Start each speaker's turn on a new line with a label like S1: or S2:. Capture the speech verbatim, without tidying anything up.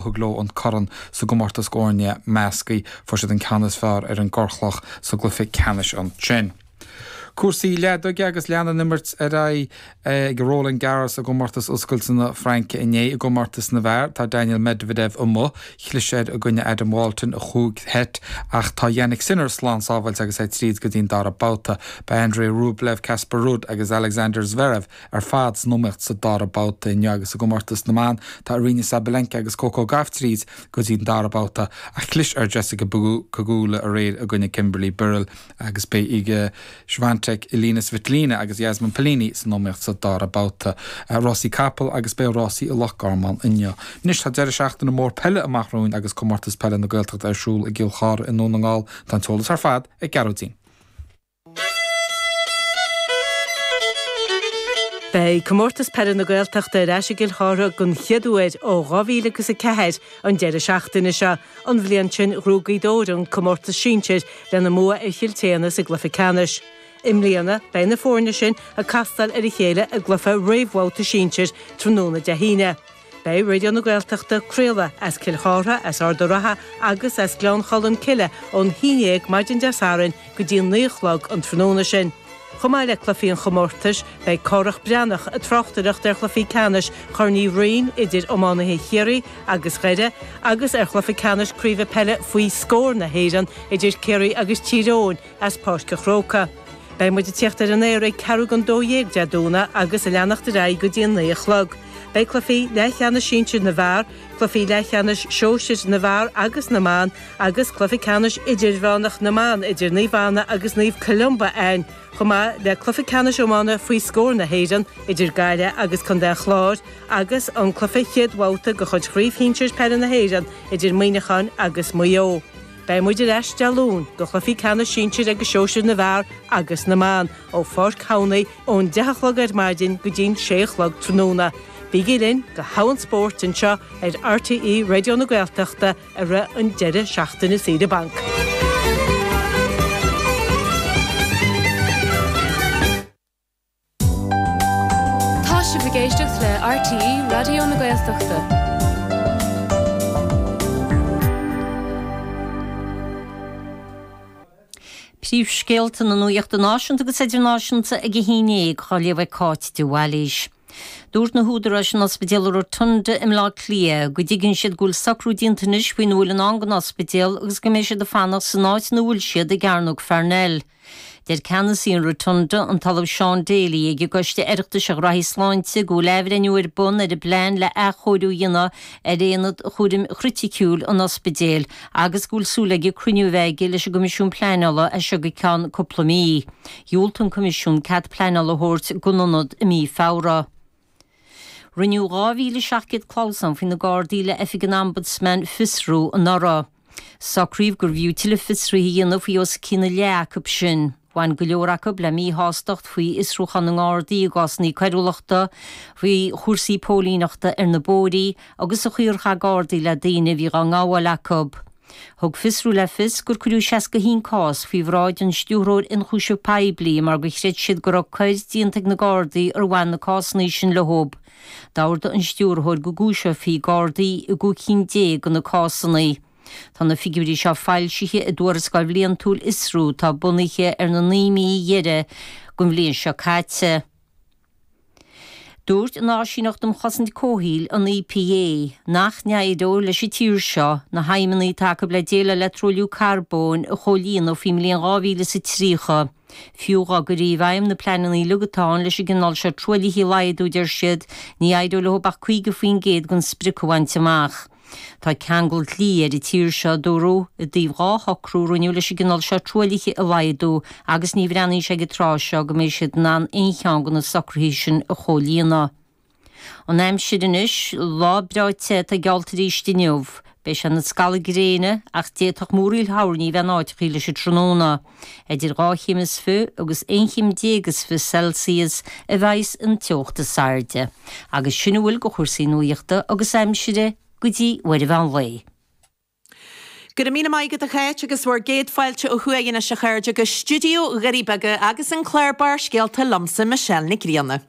S1: Thug leo an corn sa gcomórtas foirne measctha, fuair siad an ceann is fearr ar an gCorrchloch sa gcluiche ceannais ansin. Cúrsaí leadóige agus lean an imirt ar aghaidh ag Roland Garros i gcomórtas oscailte na Fraince inné. I gcomórtas na bhfear tá Daniel Medvedev amuigh, chlis air i gcoinne Adam Walton i chúig sheit ach tá Jannik Sinner slán sábháilte agus é tríd go dtí an dara babhta. Beidh Andrei Rublev, Casper Ruud agus Alexander Zverev ar fad san iomaíocht sa dara babhta inniu agus i gcomórtas na mban tá Aryna Sabalenka agus Coco Gauff tríd go dtí an dara babhta ach chlis ar Jessica Pegula aréir i gcoinne Kimberly Birrell agus beidh Iga Swiatek, Elina Svitolina agus Jasmine Paolini san iomaíocht sa dara babhta. Rásaí capall agus beidh rásaí i Loch Garman inniu. Anois tá deireadh seachtaine mór peile amach romhainn agus Comórtas Peile na Gaeltachta ar siúl i gCill Chartha i nDún na nGall. Tá an t-eolas ar fad ag Gearóidín.
S2: Beidh Comórtas Peile na Gaeltachta ar ais i gCill Chartha den chéad uair ó dhá mhíle agus a ceathair an deireadh seachtaine seo. An bhliain sin ghnóthaigh Gaoth Dobhair an comórtas sinsir lena mbua ar Chill tSéadhna sa gcluiche ceannais. I mbliana beidh na foirne sin ag castáil ar a chéile i gcluiche réamhbhabhta sinsir tráthnóna Dé hAoine. Beidh Raidió na Gaeltachta ag craoladh as Cill Chartha, as Ard an Rátha agus as Gleann Cholm Cille ón haon dhéag maidin Dé Sathairn go dtí an naoi a chlog an tráthnóna sin. Chomh maith le cluichí an chomórtais, beidh Cárthach Breathnach ag tráchtaireacht ar chluichí ceannais Chorn Uí Rinn idir iománaithe Chiarraí agus Dhoire agus ar chluiche ceannais Craoibhe Peile faoi scór na hÉireann idir Ciarraí agus Tír Eoghain as Páirc an Chrócaigh. Beidh muid ag tíocht ar an aer ag ceathrú don dó dhéag Dé Domhnaigh agus ag leanacht ar aghaidh go dtí an naoi a chlog. Beidh cluichí leathcheannais sinsir na bhfear, cluichí leathcheannais sóisir na bhfear agus na mban agus cluiche ceannais idirmheánach na mban idir Naomh Anna agus Naomh Columba ann, chomh maith le cluiche ceannais iomána faoi scór na hÉireann idir Gaillimh agus Contae an Chláir agus an cluiche chéad bhabhta de chuid Chraobh Shinsir Peile na hÉireann idir Muineachán agus Maigh Eo. Beidh muid ar ais Dé Luain do chluichí ceannais sinsir agus sóisir na bhfear agus na mban ó Pháirc Thamhnaigh ón deich a chlog ar maidin go dtí'n sé a chlog tráthnóna. Bígí linn do thogha an spóirt anseo ar RTÉ Raidió na Gaeltachta i rith an deireadh seachtaine saoire bainc.
S3: Tá sibh ag éisteacht le RTÉ Raidió na Gaeltachta.
S4: Príomhscéalta na nuachta náisiúnta agus idirnáisiúnta ag a haon déag, á léamh ag Cáit de Bhailís. Dúirt na húdaráis in Ospidéal Rotunda i mBleá Cliath go dtuigeann siad go bhfuil socrú déanta anois faoina bhfuil i ndán don ospidéal agus go mbeidh siad ag fanacht san áit ina bhfuil siad i gCearnóg Pharnell. Deir ceannasaí an Rotunda, an tOllamh Sean Daly, ag an gCoiste Oireachtais ar Ghraithí Sláinte go bhfuil athbhreithniú ar bun ar an bplean le athchóiriú a dhéanamh ar aonad chúraim chriticiúil an ospidéil agus go bhfuil súil aige cruinniú a bheith aige leis an gCoimisiún Pleanála as seo go ceann cúpla mí. Dhiúltaigh an Coimisiún cead pleanála a thabhairt don ionad i mí Feabhra. Rinneadh dhá mhíle seacht gcéad clamhsán faoi na Gardaí le Oifig an Ombudsman fiosrú anuraidh. Socraíodh gurbh fhiú tuilleadh fiosruithe a dhéanamh faoi os cionn a leath acu sin. Bhain go leor acu le míshástacht faoi fhiosrúchán na nGardaí i gcásanna coiriúlachta, faoi chúrsaí póilíneachta ar na bóithrí agus an chaoi ar chaith Gardaí le daoine a bhí dhá ngabháil acu. Thug Fiosrú le fios gur cuireadh seasca a haon cás faoi bhráid an Stiúrthóir Ionchúiseamh Poiblí mar gur chreid siad go raibh coir déanta ag na Gardaí ar bhain na cásanna sin leo. D'ordaigh an Stiúrthóir go gcúiseofaí Gardaí i gcúig cinn déag de na cásanna. Tá na figiúirí seo foilsithe i dtuarascáil bhliantúil Fhiosrú atá bunaithe ar na naoi mí dheiridh den bhliain seo caite. Dúirt an Áisíneacht um Chosaint Comhshaoil, an EPA, nach n-éireoidh leis an tír seo na haidhmeanna atá acu le déileáil le truailliú carbóin a chomhlíonadh faoin mbliain dhá mhíle is a tríocha. Fiú dá gcuirfí i bhfeidhm na pleananna uilig atá ann leis an gcineál seo truaillithe a laghdú, deir siad, ní éireoidh leo ach caoga faoin gcéad den sprioc a bhaint amach. Tá ceangal dlí ar an tír seo, a dúradh, i dtaobh dhá shocrú a rinneadh leis an gcineál seo truaillithe a laghdú agus ní bhreathnaíonn sé ag an tráth seo go mbeidh siad in ann aon cheann de na socruithe sin a chomhlíonadh. An aimsir anois, lá breá te atá geallta arís inniu. Beidh sé ina scalladh gréine ach d'fhéadfadh múraíl thoirní a bheith in áiteachaí leis an tráthnóna. Idir dhá chéim is fiche agus aon chéim déag is fiche Celsius a bheidhs an teocht is airde. Agus sin a bhfuil de chúrsaí nuachta agus aimsire go dtí uair an mheán lae.
S5: Go raibh míle maith agat a Cháit agus bhur gcéad fáilte ó thuaidh anois a chairde go stiúideo Dhoirí Beaga agus an clár Barrscéalta liomsa Michelle Nic Grianna.